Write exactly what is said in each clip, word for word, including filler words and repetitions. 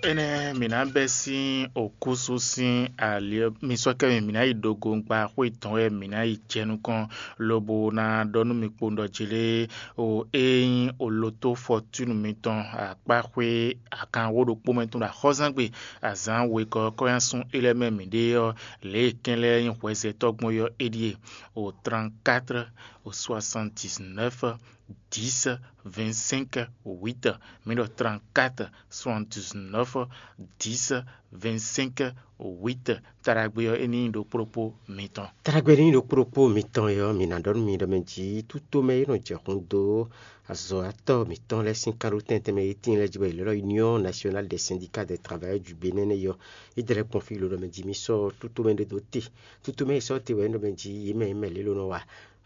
Énɛ́ mǐ ná bɛ́ sín okúsu sín ali ɔ́, mi sɔ́ kɛ mì, mǐ ná yi ɖo gongba xwé tɔn wɛ mǐ ná yi jɛ nukɔn, lobo ná ɖɔ nú mi kpowun ɖɔ jí lé o, ényí oloto fɔtúnu mitɔn akpáxwé akanwó ɖokpó mɛ tɔn ɖo axɔ́zán gbe azǎn wegɔ́ kɔ́ nyi asún é lɛ́ɛ mɛ mǐ ɖe ɔ́, lě e kɛn lɛ́ɛ nyí hwɛzɛtɔ́ gbɔn é ɔ́, é ɖíe: o trente-quatre, o soixante-dix-neuf, dix, vingt-cinq, huit. Mi ɖɔ trente-quatre, soixante-dix-neuf, dix, vingt-cinq, huit. Taɖagbe ɔ́, é ní nyí ɖokpó ɖokpó mitɔn. Taɖagbe ní nyí ɖokpó ɖokpó mitɔn é ɔ́, mi ná ɖɔ nú mi ɖɔ mɛ jí tútomɛ e nɔ jɛ xun dó azɔ̌watɔ́ mǐtɔn lɛ́ɛ sín kánɖótɛn tɛnmɛ e tíin lɛ́ɛ jí bɔ è lɛ́ ɖɔ Union Nationale des Syndicats des Travailleurs du Bénin nɛ́ é ɔ́, é dlɛ́ kpɔ́n fí lodɔ mɛ jí mì sɔ́ tútomɛ ɖé dó te. Tútomɛ e sɔ́ te wɛ é nɔ mɛ jí yě mɛ yě mɛ lě ló nɔ wa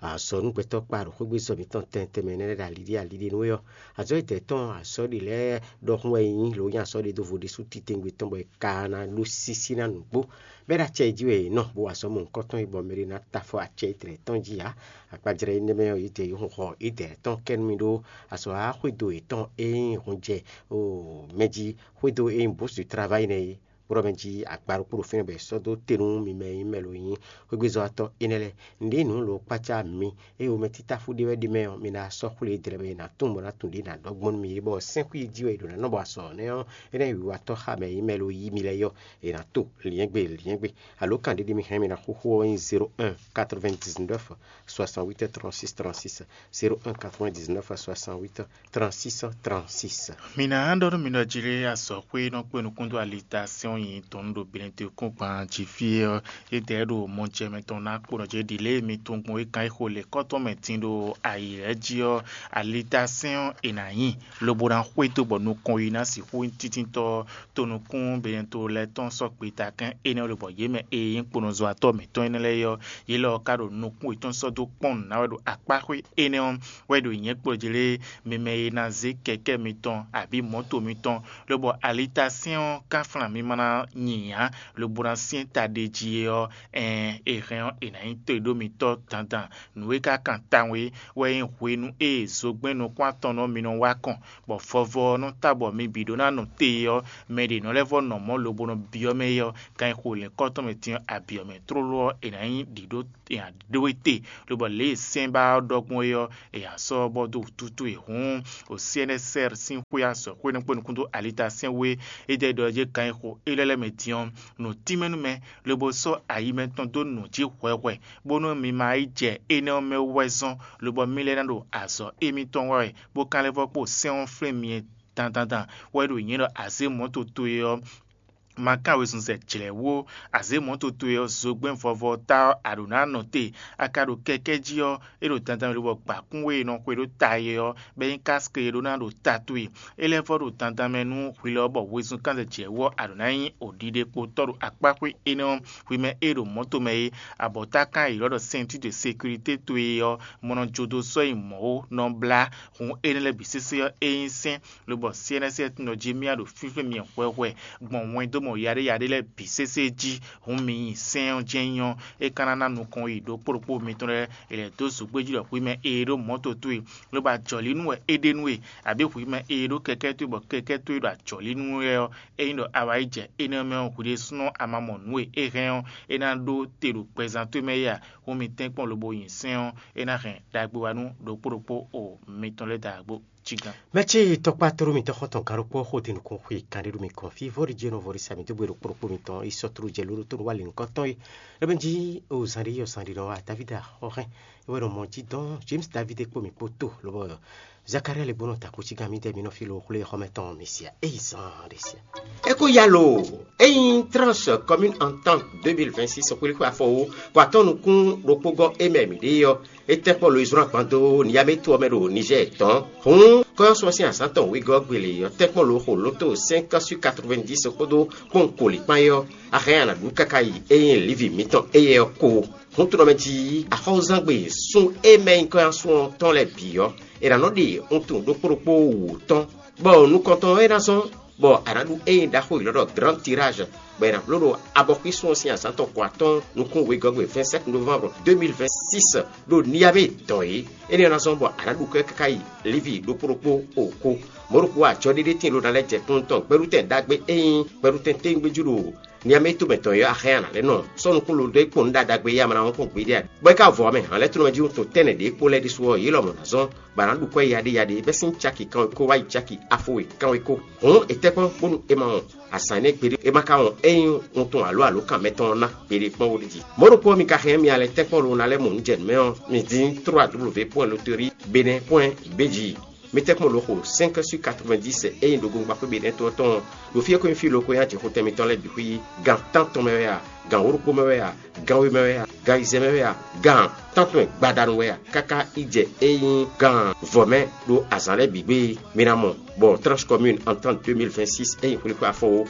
azɔ̌ nú gbɛtɔ́ kpa ɖo xwégbezɔ́ mǐtɔn tɛntɛn mɛ énɛ́ lɛ́ɛ ɖo aliɖí aliɖí nú é ɔ́, azɔ̌ e dɛ̌ tɔn azɔ̌ ɖě lɛ́ɛ ɖɔhun wɛ é nyí, lǒ nyí azɔ̌ ɖé dó vo ɖésú titewungbe tɔn bɔ è ka ná ɖó sísí ná nǔgbó. Bɔ é ɖo acɛ e jí wɛ è nɔ, bó wa azɔ̌ mɔ̌hunkɔtɔn e bɔ mɛ ɖé ná ta afɔ acɛ étɛ́ tɔn jí ǎ. Akpajlɛ́ énɛ́ mɛ ɔ́, yě ɖe yě hun xɔ édɛɛ tɔn kɛ nú mì ɖó azɔ̌ xwédo yětɔn e nyí hun jɛ o mɛ jí, xwédo e nyí bǔsu travayi nɛ́ é. Kplɔ́ mɛ jí agba ɖokpó ɖo fínɛ́ bɔ è sɔ́ dó te nú mi mɛ e nyí mɛ lo nyí xwégbezɔ́watɔ́ énɛ́ lɛ́ɛ. Nǔɖé nǔ lo kpácá mi, eye womɛ títáfú ɖé wɛ ɖ'é mɛ ɔ́, mi ná sɔ́ xwlé e dlɛ́ bɔ è nǎ tunwun bɔ ná tunwun ɖě ná ɖɔ gbɔn nú mi é, bɔ sɛ́nxwí e jí wɛ è ɖǒ ná nɔ bɔ azɔ̌ nɛ́ ɔ́, énɛ́ wiwatɔ́ xa mɛ e nyí mɛ lo yí mi lɛ́ɛ é ɔ́, è nǎ to lyɛ̌ngbe lyɛ̌ngbe. Alo kan ɖé ɖé mi hɛn mi ná xúxú ɔ́ nyí zéro un quatre-vingt-dix-neuf soixante-huit trente-six trente-six, zéro un quatre-vingt-dix-neuf soixante-huit trente-six trente-six. Mi ná ɖɔ nú mi ɖɔ jí lé azɔ̌xwé e nɔ kpé nukún dó alitasɛ́n ɔ́ nyi tɔn ɖo Benɛtɔ́kúngban jí fí é ɔ́, é dɛ̌ ɖo mɔjɛmɛ tɔn ná kpo nɔ jɛ ɖi lě e mi tunwun gbɔn é kan e xo lě kɔ́tɔn mɛ din ɖo ayǐ lɛ́ɛ jí ɔ́, alitasɛ́n ɔ́ è nǎ nyi, lobo ná xwedó bɔ nukɔn yi ná sixú nyí títíntɔ́ tonukún Benɛto lɛ́ɛ tɔn sɔ́ gbeta kɛn énɛ́ lobɔ yě mɛ e nyí kponɔzɔ́watɔ́ mǐtɔn énɛ́ lɛ́ɛ é ɔ́, yě lɔ ɔ́ ka ɖo nukún yětɔn sɔ́ dó kpɔ́n nǔ ná wɛ ɖo akpáxwé énɛ́ ɔ́ wɛ ɖo nyɛ̌ kplɔ́ jí lé, mi mɛ e ná zé kɛkɛ́ mitɔn abǐ mɔ̌to mitɔn, lobɔ alitasɛ́n ɔ́ ka flan mi ma ná nyi ǎ, lobo ná syɛ́n ta ɖe jí é ɔ́, ɛɛn, è hɛn ɔ́, è nǎ nyí to e ɖó mitɔ́ dandan. Nǔ e ka kan tawun é wɛ nyí hwenu e zogbɛ́n nukún-atɔnnɔ mi nɔ wá kɔn, bɔ vɔvɔ ɔ́ nɔ ta bɔ mi bǐ ɖó ná nɔ te é ɔ́, mɛ ɖě nɔ lɛ́ vɔ́ nɔ mɔ̌ lobo nɔ byɔ́ mɛ é ɔ́, kan e xo lɛ̌nkɔ́tɔn mɛ din ɔ́, abyɔ̌ mɛ tlóló ɔ́, è nǎ nyí ɖǐɖó è nǎ ɖó e te, lobɔ lě e sɛ́n ba ɔ́ ɖɔ gbɔn é ɔ́, è nǎ sɔ́ ɔ́ bɔ dó wǔtútú e hǔn, o C N S R sín xwé azɔ̌xwé nɔ kpé nukún dó alitasɛ́n wú é, é dɛ́ ɖɔ jɛ́n kan e xo é lɛ́ lɛ́ mɛ din ɔ́, nǔ tínmɛ nú mɛ, lobo sɔ́ ayi mɛtɔn dó nǔ jí hwɛhwɛ, bónú mi ma yi jɛ énɛ́ ɔ́ mɛ wú wɛ zɔ́n, lobɔ mì lɛ́ ná ɖo azɔ̌ émítɔn wa wɛ, bó ka lɛ́ vɔ́ kpo sɛ́n ɔ́ flín mi dandandan wɛ ɖo nyɛ ɖɔ azě mɔ̌ towe ɔ́, ma kán wezun zɛ jlɛ̌ wú ó. Azě mɔ̌ towe ɔ́, zogbɛ́n vɔvɔ ɔ́ ta ɔ́, a ɖǒ ná nɔ te. A ka ɖo kɛkɛ́ jí ɔ́, é ɖo dandan mɛ lobɔ gbǎkún e è nɔ xwe ɖó ta é ɔ́, bɔ é nyí káske e ɖó ná ɖo ta towe. É lɛ́ vɔ́ ɖo dandan mɛ nú hwi lɔ ɔ́, bɔ wezun kán zɛ jlɛ̌ wú ɔ́, a ɖǒ ná nyí òɖiɖekpotɔ́ ɖo akpáxwé énɛ́ ɔ́, hwi mɛ e ɖo mɔ̌ tomɛ é, abɔ̌ta kán e è ylɔ́ ɖɔ ceinture de sécurité towe ɔ́, mɔ nɔ jó dó sɔ́ nyi mɔ̌ ó, nɔ blá. Hǔn énɛ́ lɛ́ɛ bǐ sésé ɔ́, é nyí sɛ́n, lobɔ C N S tɔn jí mì ɖo fínflín mi hwɛhwɛ gbɔn wɛndómɔ yaɖéyaɖé lɛ́ɛ bǐ sésé jí. Hǔn mi nyi sɛ́n ɔ́ jɛ́n nyí ɔ́, é ka ná ná nukɔn yi ɖokpó ɖokpó mitɔn lɛ́ɛ, è lɛ̌ dó zǒgbé jí ɖɔ hwi mɛ e ɖó mɔ̌ towe, lobo ajɔ̌línú wɛ é ɖe nú we, abǐ hwi mɛ e ɖó kɛkɛ́ towe bɔ kɛkɛ́ towe ɖo ajɔ̌línú lɛ́ɛ ɔ́, ényí ɖɔ a wá yi jɛ énɛ́ mɛ ɔ́, hwi ɖésúnɔ a ma mɔ nǔ e é hɛn ɔ́, é ná ɖó te ɖo gbɛzán towe mɛ é a? Hǔn mi tɛ́nkpɔ́n lobo nyi sɛ́n ɔ́, é ná hɛn ɖagbe wá nú ɖokpó ɖokpó o mitɔn lɛ́ɛ dǎgbó. Mɛ ce tɔkpá tlóló mitɔn xɔ́ntɔn gǎn ɖokpó xó din nukún xwe kanɖéɖu mi kɔn fí vɔ́ɖi jɛ́nɔ vɔ́ɖi sami dó gbe ɖokpó ɖokpó mitɔn yi sɔ́ tlú jɛ lóɖó tónú wá lǐnukɔ́tɔn é. Lɔbɛn jí o zǎn ɖé yɔ zǎn ɖé nɔ wá Davida xɔ hɛn, é wɛ nɔ mɔ jí dɔn James David kpó mi kpó tó lobɔ Zakaria lɛ gbɔnɔ ta kú cí gán mi dɛ mi nɔ fí lo xwlé xɔmɛ tɔn mi sia é yi zan ɖe sia. É kó ya lo ényí tranche commune entente deux mille vingt-six xwlíxwé afɔ wo kó atɔ́ nukún ɖokpó gɔ́ é mɛ mǐ ɖe ɔ́, é tɛ́ kpɔ́ lo Ezra gban dó Niyametu ɔ́ mɛ ɖo Nizɛ́ɛ tɔn. Hǔn kɔ́yɔ́sɔ sín azǎn tɔn wegɔ́ gbele ɔ́ tɛ́ kpɔ́ lo xo lóto cinq sur quatre-vingt-dix kpódó kpɔ́n koli kpán é ɔ́, a hɛn a nǎ ɖu káká yi ényí Livi mǐtɔn éyɛ́ ɔ́ kó. Hǔn tlɔmɛ jí axɔ́zangbe sun e mɛ nyí kɔ́yɔ́sɔ tɔn lɛ́ɛ bǐ ɔ́, è nǎ nɔ ɖe wuntun ɖokpó ɖokpó wǔ tɔn, bɔ nukɔntɔn e ná zɔ́n Bɔ a nǎ ɖu ényí ɖaxó yěɖɔ́ ɖɔ Grand Tirage, bɔ è nǎ bló ɖo abɔxwísun ɔ́ sín azǎn tɔn ko atɔ́ɔ́n nukún wegɔ́gbe vingt-sept novembre deux mille vingt-six ɖo Niamey dɔn é. Énɛ́ ɔ́ ná zɔ́n bɔ a nǎ ɖu kwɛ́ káká yi Livi ɖokpó ɖokpó o ko. Mɔ̌ ɖokpó ajɔɖéɖé tíin ɖó ná lɛ́ jɛ kúnnu tɔn gbɛɖutɛn ɖagbe ényí gbɛɖutɛn téwúngbéjú ɖo Niamey tomɛ tɔn ɔ́ axɛ́ a nǎ lɛ́ nɔ sɔ́ nukún lo ɖé kpɔn nǔ ɖaɖagbe e ama ná wɔn kpɔn gbeɖé ǎ. Bɔ é ka vɔ ɔ́ mɛ, hǎnlɛ́tonɔmɛ jí wuntun tɛ́nnɛ ɖě kpó lɛ́ɛ ɖésú ɔ́, yě lɔmɔ̌ ná zɔ́n bɔ a nǎ ɖu kwɛ́ yaɖéyaɖé bɛ́ sín caki kanwekó wá yi caki afo we kanwekó. Hǔn è tɛ́ kpɔ́n bónú è ma wɔn azǎn énɛ́ gbeɖé, è ma ka wɔn ényí wuntun alo alǒkan mɛtɔn ɔ́ ná gbeɖé kpɔ́n ó ɖi jí. Mɔ̌ ɖokpó ɔ́, mi ka hɛn mì alɛ tɛ́nkpɔ́n lo ná lɛ́ mɔ nǔ jɛ nǔ mɛ ɔ́, mi dín trois W point loterie benin point B G. Mi tɛ́nkpɔ́n lo xo cinq sur quatre-vingt-dix ényí ɖo gongbaxwé benin to ɔ́ tɔn ɔ́, ɖo fí e ko nyí fí lo ko nyí ajixotɛn mitɔn lɛ́ɛ bǐ xwí, gan tántɔn mɛ wɛ a, gan wóɖokpó mɛ wɛ a, gan we mɛ wɛ a, gan ayizɛ́n mɛ wɛ a, gan tántɔn gbadanu wɛ a, káká yi jɛ é nyí gan vɔ̌ mɛ ɖo azǎn lɛ́ɛ bǐ gbe. Mi ná mɔ bɔ Tranche Commune Entente deux mille vingt-six é nyí xwlíxwé afɔwó